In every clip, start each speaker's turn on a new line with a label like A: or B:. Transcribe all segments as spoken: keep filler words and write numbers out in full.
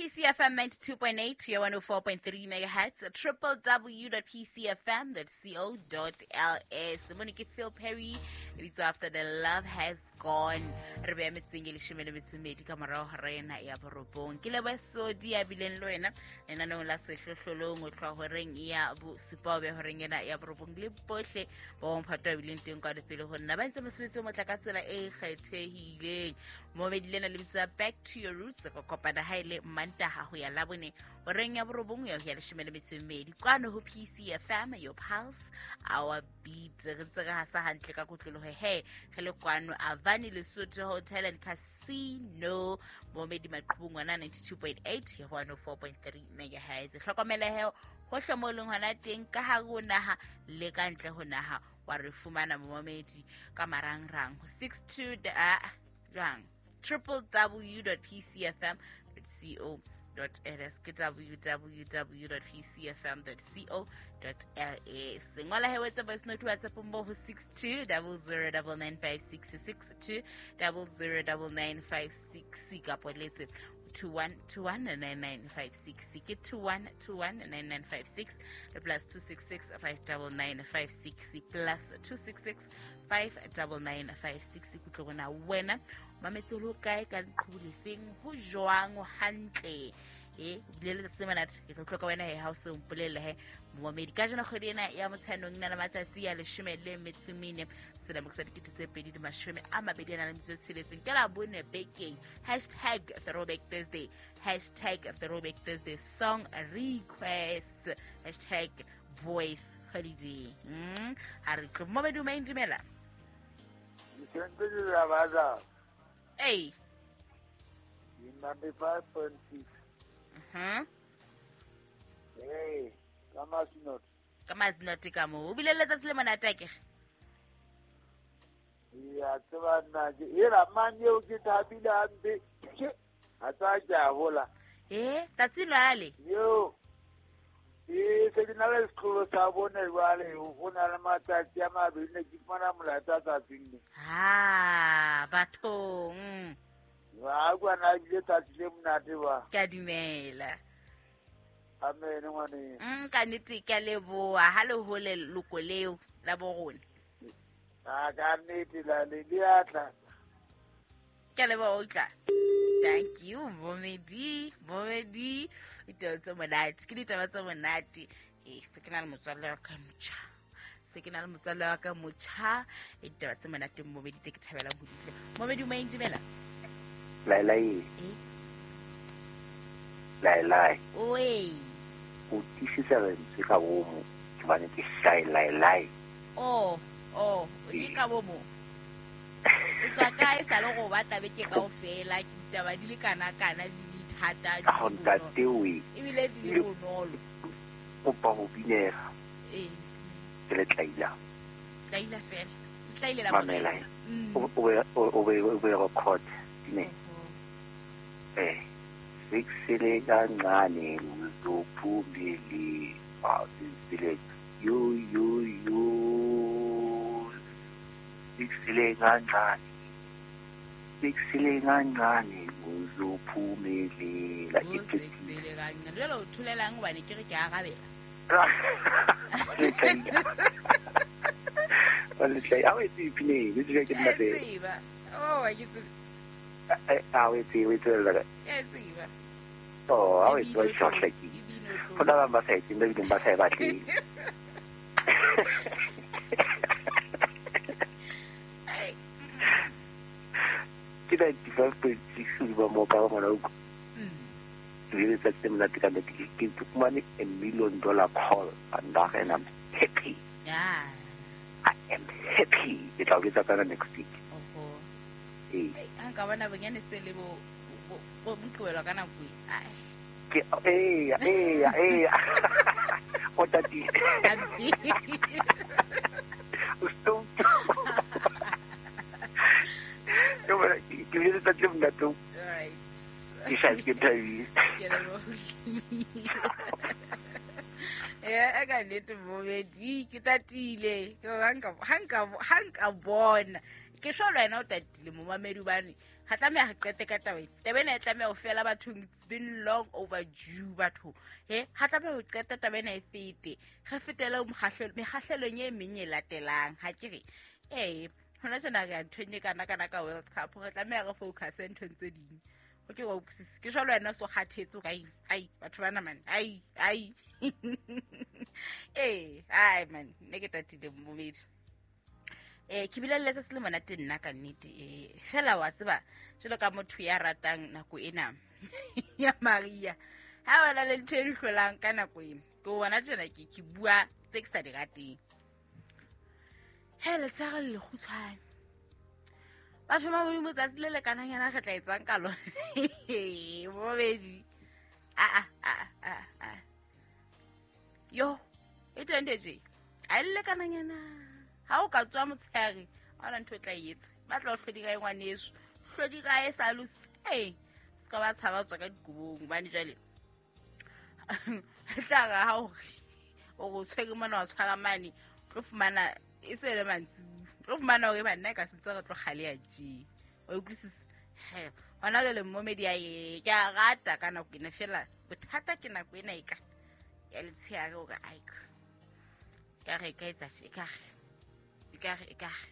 A: P C F M ninety-two point eight to one oh four point three megahertz, triple w dot p c f m dot co dot l s. Monique Phil Perry, it's after the love has gone. Re be metseng e leshome le metso e mmedi ka morao ho rena ya borobong. Ke leboha Sodi ya bileng le wena lenaneong la sehlohlolong ho tloha horeng ya bosupa ho beha horeng ena ya borobong le bohle ba bomphato ba bileng teng kwa pele ho nna ba ntse mosebetsi o motle ka tsela e kgethehileng. Momedi lena le bitsa Back to Your Roots, ka kopana ha ile Mantaha ho ya Labone horeng ya borobong ya ho ya leshome le metso e mmedi kwano ho P C F M, your pulse, our beat. Re ntse re hasa hantle ka kotloloho he re le kwano Avani Lesotho Hotel and Casino, momedi maqhubung ngwana ninety-two point eight ya one oh four point three megahertz. Hlokomela he hohle mo leng hona teng ka hare ho naha le ka ntle ho naha wa re fumana momedi ka marangrang ho six two jwang triple w dot p c f m dot co dot l s ke w w w dot p c f m dot co dot l s. Ngola he wetse voice note WhatsApp mo ho six two zero zero nine nine five six six two zero zero nine nine five six kapo letse two one two one nine nine five six ke two one two one nine nine five six plus two six six five nine nine five six plus two six six five nine nine five six. Kutlwe rona wena mametse lo kae ka leqhubu lefeng ho jwang hantle e bile letsatsi le monate ke tlo hloka wena he ha o se mpolelle he momedi ka jeno kgwedi ena ya Motsheanong na le matsatsi a leshome le metso e mene selemo sa dikete tse pedi le mashome a mabedi a nang le metso e tsheletseng ke la bone bekeng. Hashtag Throwback Thursday, hashtag Throwback Thursday song request, hashtag voice holiday. Mm ha re tlo momedi o maindumela. Hey.
B: ninety-five point six.
A: Mhm.
B: Hey, ka masinot.
A: Ka masinot ka mo. O bile letsatsi le monate ke.
B: Ya tseba nna ke era mang eo ke thabile hampe. Ha tsa ke a hola.
A: Eh, tsatsi lwale.
B: Yo. E se ke na le sekolo sa bone jwale ho na le matsatsi a mabedi ne ke fumana molaetsa tsatsing le.
A: Ha, bathong.
B: Ba kwana bile tsatsi le monate ba.
A: Ke a dumela.
B: Amen ngwane.
A: Mm ka nnete ke a leboha ha le hole loko leo la borona.
B: A ka nnete la le le atla.
A: Ke a leboha o tla. Thank you, Momedi. Momedi. Ditaba tse monate. Ke ditaba tse monate. Eh, se ke na le motswalle wa ka motjha. Se ke na le motswalle wa ka motjha. E ditaba tse monate Momedi tse ke thabelang ho di utlwa. Momedi o maindumela.
C: Lai lai.
A: Eh.
C: Lai lai.
A: Oi.
C: O tiisisa lentswe ka bomo ke bane ke shy lai lai.
A: Oh, oh, o ke ka bomo. O tswa kae sa le go batla beke kaofela ke ditaba di le kana kana di le thata di
C: le ntate we
A: ebile di le bonolo.
C: Kopa ho binega.
A: Eh.
C: Ke le tlaila.
A: Tlaila fela. Le tlaile la
C: mamela. O o o o be record ne. Eh. Six kancane uzophumele. Ah, sile yo yo yo. Six kancane. Six kancane uzophumelela.
A: Six kancane. Jalo o thulelang hobane ke re ke arabela.
C: Wa le tla a o itse pine, le tsebe ke nna
A: tseba. Oh, ke tsebe.
C: A o itse o itse la.
A: Ke tseba.
C: Oh, a o itse wa tshotla ke. Go na ba sa itse ba bileng ba sa e batle. Ke ninety-five point six ba mo ka ngwana o.
A: Mm.
C: Ke le tsatsi monate ka nnete ke ke fumane a million dollar call and I'm happy.
A: Yeah.
C: I am happy. Ke tla o etsa kana next week.
A: Oho.
C: Eh.
A: Ha nka bona bonyane se le bo bo moqobelo ka nako e. Ai.
C: Ke eh eh eh. O tatile. O stop. Yo bona ke le tsatsi le monate.
A: Right.
C: Ke sa ke thabile.
A: Ke lebohile. Eh, ka nnete Momedi ke tatile. Ke ha nka ha nka ha nka bona. Ke sho le wena o tatile momamedi hobane Ga tlameha re qete ka taba ena. Taba ena e tlameha ho fela bathong. It's been long overdue batho. He, ga tlameha ho qeta taba ena e fete. Re fetele mekgahlelong e meng e latelang. Ha ke re, ee, hona tjena re ya nthong e kana kana ka World Cup. Re tlameha re focus-e nthong tse ding. O ke wa utlwisisa. Ke jwalo wena o so kgathetse hore ai, ai, batho bana man, ai, ai. Ee, ai man, nne ke tatile momedi. Eh, ke bile le se le monate nna ka nnete. Eh, fela wa tseba jwalo ka motho ya ratang nako ena ya Maria. Ha wena le ntho e hlolang ka nako ena. Ke bona tjena ke ke bua tse ke sa di rateng. He le tshare le kgutshwane. Batho ba modimo tsatsi le lekananyana re tla etsang ka lona. Bobedi. A a a a a. Yo, e teng ntho tje. A le lekananyana. Ha o ka tswa motshehare, ha hona ntho e tla e etsa. Ba tla o hlodi kae ngwaneso? Hlodi kae sa lose? Eh, se ka ba tshaba tswa ka dikobong hobane jwale. Tla re ha o re o tshwere mona wa tshwara mane, o tlo fumana e se le mantsibuya. Tlo fumana hore banna ka sentse re tlo kgaleya tje. Wa utlwisisa? He, hona jwale momedi a ye ke a rata ka nako ena fela bothata ke nako ena e ka ya letshehare hore aiko. Ka re ka etsa tje, ka re e ka re e ka re.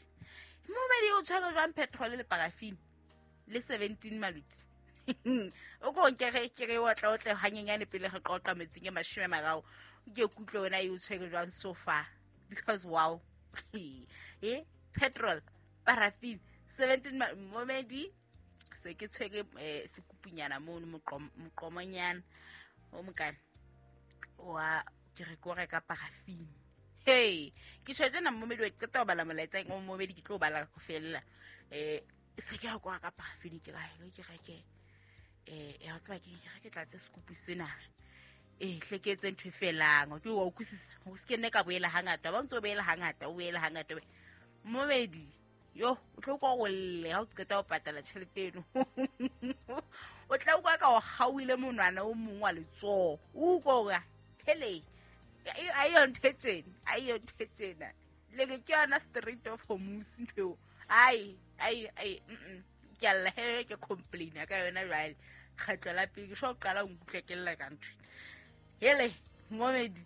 A: Momedi o tshwere jwang petrol le paraffin le seventeen maluti. O ko nke re ke re o tla o tle hanyenyane pele re qoqa metsing e mashome a mararo. Ke kutlwe wena e o tshwere jwang so far because wow. Eh, petrol, paraffin, seventeen momedi se ke tshwere eh, sekupunyana mono moqomonyana o mokana wa ke re ko reka paraffin. Hey, ke tjho tjena momedi wa qeta ho bala molaetsa o momedi ke tlo bala go fella. Eh, se ke ya ko reka paraffin ke ra ke reke eh ya tseba ke re ke tlatse sekupu sena. Eh, hleketse ntho e felang. Ke wa utlwisisa. O se ke nne ka boela hangata. Ba ntse o boela hangata, o boela hangata. Momedi, yo, o tlo kwa go lle ha o qeta ho patala tjhelete eno. O tla utlwa ka o kgaohile monwana o mong wa letsoho. O utlwa hore hele, a yo ntho e tjena, a yo ntho e tjena. Le ke ke yona Strait of Hormuz ntho eo. Ai, ai, ai, mm. Ke a lla he ke complain ka yona jwale. Kgetlo la pele ke sho qala ho nkutlwa ke lla ka ntho. Hele, momedi,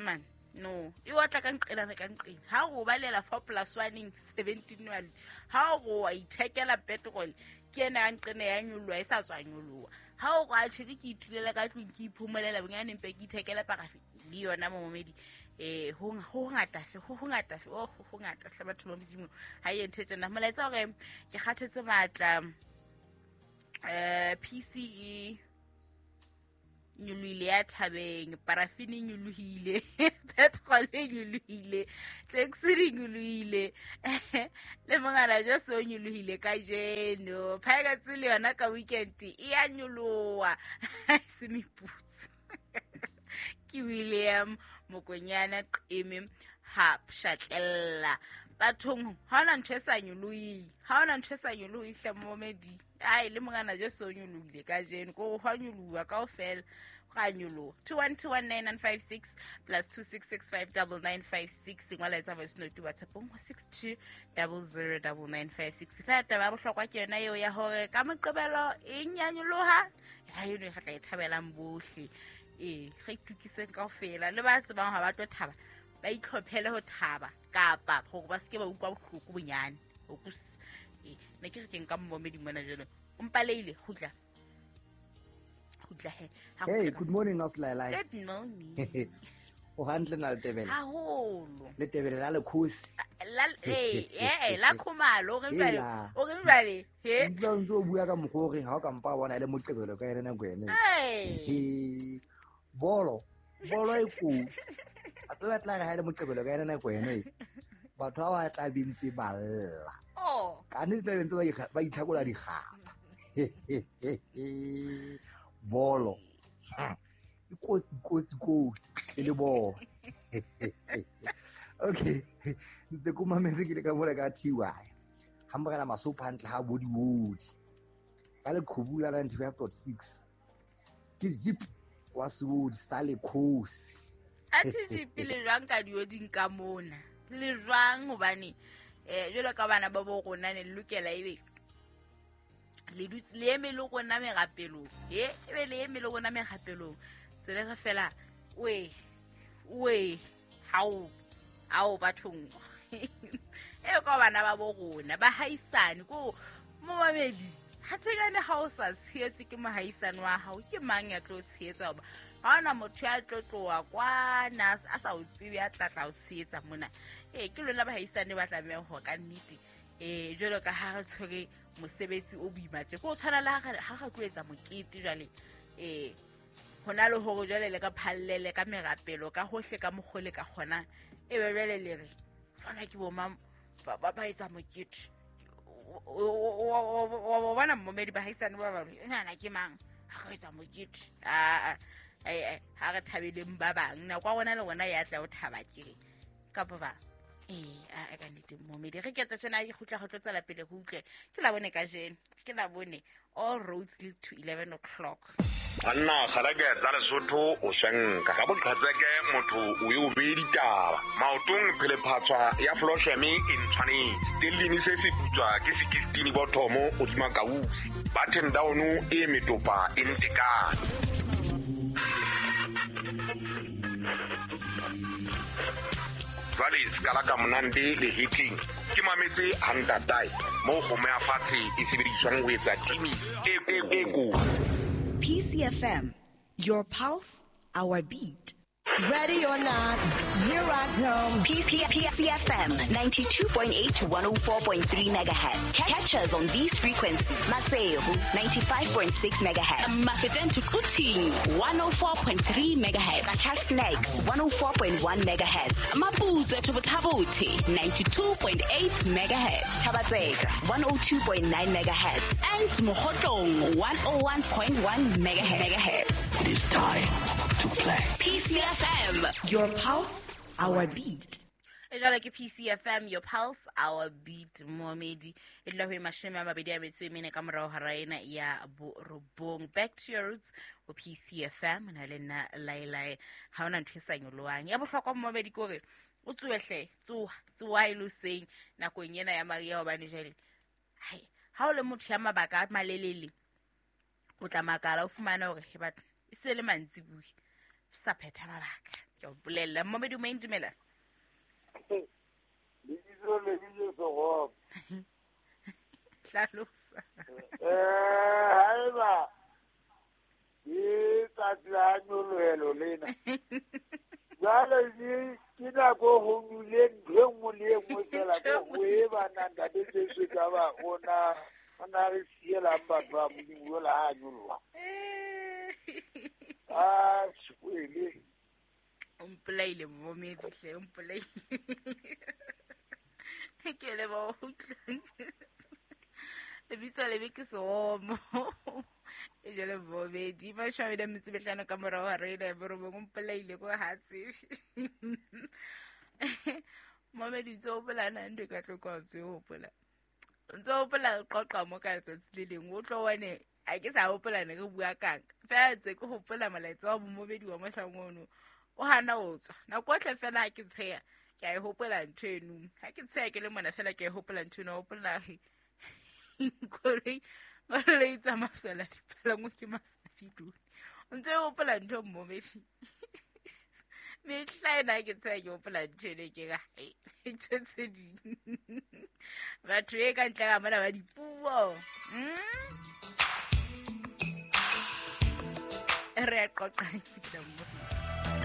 A: man, no. E otla ka nqena ka nqena. Ha o balela four plus one seventeen one. Ha o wa ithekela petrol, ke ena ya nqena ya nyoloha e sa tswa nyoloha. Ha o re a tjhe ke ithulela ka tlung ke iphomolela bonyane mpe ke ithekela paraffin le yona momedi. Eh, ho ho ngata fe, ho ho ngata fe, oh ho ngata hle batho ba modimo. Ha e ntho tsena. Molaetsa hore ke kgathetse matla. Eh, P C E nyolohile ya thabeng, paraffin e nyolohile, petrol e nyolohile, taxi di nyolohile, le mongana Jesu o nyolohile kajeno. Pirates le yona ka weekend e ya nyoloha. Se meputso. Ke William Mokonyana Qeme ha pshatlella. Bathong ha hona ntho e sa nyoloheng, ha hona ntho e sa nyoloheng hle momedi. Ai le mongana Jesu o nyolohile kajeno, ko hwa nyoloha kaofela. Ga nyoloha. two one two one nine nine five six plus two six six five nine nine five six. Ngwala etsa voice note WhatsApp go six two zero zero nine nine five six. Fa taba ya bohlokwa ke yona eo ya hore ka moqebelo e nyanyoloha, ha eno e re tla e thabelang bohle. Eh, re itukiseng kaofela le ba tsebang ha ba tlo thaba, ba itlhophele ho thaba kapa hore ba seke ba utlwa bohloko bonyane. O kus eh ne ke re ke nka momedi mona jalo. O mpaleile kgutla. Kgutla he.
D: Hey, good morning Auslailai.
A: Good morning.
D: O hantle na Letebele?
A: Haholo.
D: Letebele la lekhosi.
A: La eh eh la khumalo o re jwale. O re jwale he.
D: Utlwa ntse o bua ka mokgwa o reng ha o ka mpa bona le moqebelo ka yena nako ene.
A: Hey.
D: Bolo, bolo e kotsi. A tseba tla re ha le moqebelo ka yena nako ene. Batho ba ba tla bentse ba lla.
A: Oh.
D: Ka nnete tla bentse ba ba itlhakola dikgapa. Bolo. E kotsi kotsi kotsi le bolo. Okay. Ntse ko mametse ke le ka mona ka T Y. Ha morena Masopha hantle ha bo diwodi. Ka leqhubu la ninety-five point six. Ke zip wa seodi sa lekhosi.
A: Athe jipi le jwang ka dioding ka mona. Le jwang hobane eh jwalo ka bana ba bo rona ne lokela ebe Le dutse le eme le rona merapelong. E ebe le eme le rona merapelong. Tsela re fela we we hao ao bathong. E ka bana ba bo rona ba haisane ko momamedi. Ha tshekane ha o sa tshehetswe ke mohaisane wa hao ke mang ya tlo tshehetsa hoba ha ona motho ya tlo tloha kwana a sa o tsebe ya tla tla o tshehetsa mona. Eh ke lona bahaisane ba tlamehang ho ka nnete eh jwalo ka ha re tshwere mosebetsi o boima tje ko tshwana le ha re tlo etsa mokete jwale eh hona le hore jwale le ka phallele ka merapelo ka hohle ka mokgole ka kgona e be jwale le re lona ke bo mang ba ba etsa mokete o bona momedi bahaisane ba ba nana ke mang ha re etsa mokete a a ha re thabeleng ba bang nako ya rona le rona ya tla o thaba ke kapa ba eh a ka nnete momedi re ketsa tjena ke kgutla go tlo tswela pele go utlwe ke la bone ka jeno ke la bone all roads lead to eleven o'clock.
E: Banna kgalake tsa Lesotho o shanka ka boqhatseke motho o e o bee ditaba maotong phelephatswa ya flosheme e ntshwanetse stellini se se putswa ke sixteen bothomo o dima kausi button down e metopa e ntekane. Jwale skala ka monande le hitling ke mametse hantatai mo kgomo ya fatshe e sebediswang ho etsa timi e e ko.
F: P C F M, your pulse, our beat.
G: Ready or not, here I come.
F: P C F M ninety-two point eight to one oh four point three megahertz. Catch us on these frequencies. Maseru ninety-five point six megahertz.
H: Mafeteng to Quthing one oh four point three megahertz.
F: Qacha's one oh four point one megahertz.
H: Maputsoe to Botha-Bothe ninety-two point eight megahertz.
F: Thaba-Tseka one oh two point nine megahertz.
H: And Mokhotlong one oh one point one megahertz.
I: It is time to play.
H: P C F M,
G: your pulse, our beat.
A: E jwale ke P C F M, your pulse, our beat. Momedi e tla ho mashome a mabedi a metso e mene ka morao hara ena ya borobong. Back to your roots o P C F M na le nna Lailai. Ha ona ntho e sa nyolowang ya bohlokwa momedi ke hore o tsoehle tsoha tsoha e lo seng nakong ena ya Maria hobane jwale hai ha o le motho ya mabaka a malelele o tla makala o fumana hore he batho e se le mantsibuya sa phetha mabaka ke o bolella momedi o maintumela
B: lebitso le bitso Segomo
A: hlalosa
B: eh haeba ke tsatsi la nyolohelo lena jwale ke nako ho nule ntho e nngwe le e nngwe fela ko e bana ntate Jesu ka ba ona ona re sielang batho ba Modimo yola ha nyoloha ah skwele
A: o mpolaile momedi hle o mpolaile ke le ba utlwang lebitso lebe ke Segomo e jale momedi mashome a metso e mehlano ka morao ha re ena borobong o mpolaile ko ha tsebe momedi ntse o hopola ntho e ka tlo kwa ntse o hopola ntse o hopola qoqa mo ka letsatsi le leng o tlo one a ke sa hopola ne re bua kang fela tse ke hopola molaetsa wa momedi wa mohlang ono o hana o tswa nako otlhe fela ha ke tsheya ke a e hopola ntho eno ha ke tsheya ke le mona fela ke a e hopola ntho eno hopola koloi koloi tsa maswela dipalangwa ke masafidone o ntse o hopola ntho momedi mehla ena ke tsheya ke hopola ntho eno ke ka ntho tse ding batho e ka ntle ka mona ba dipuo re a qoqa ke tla mo.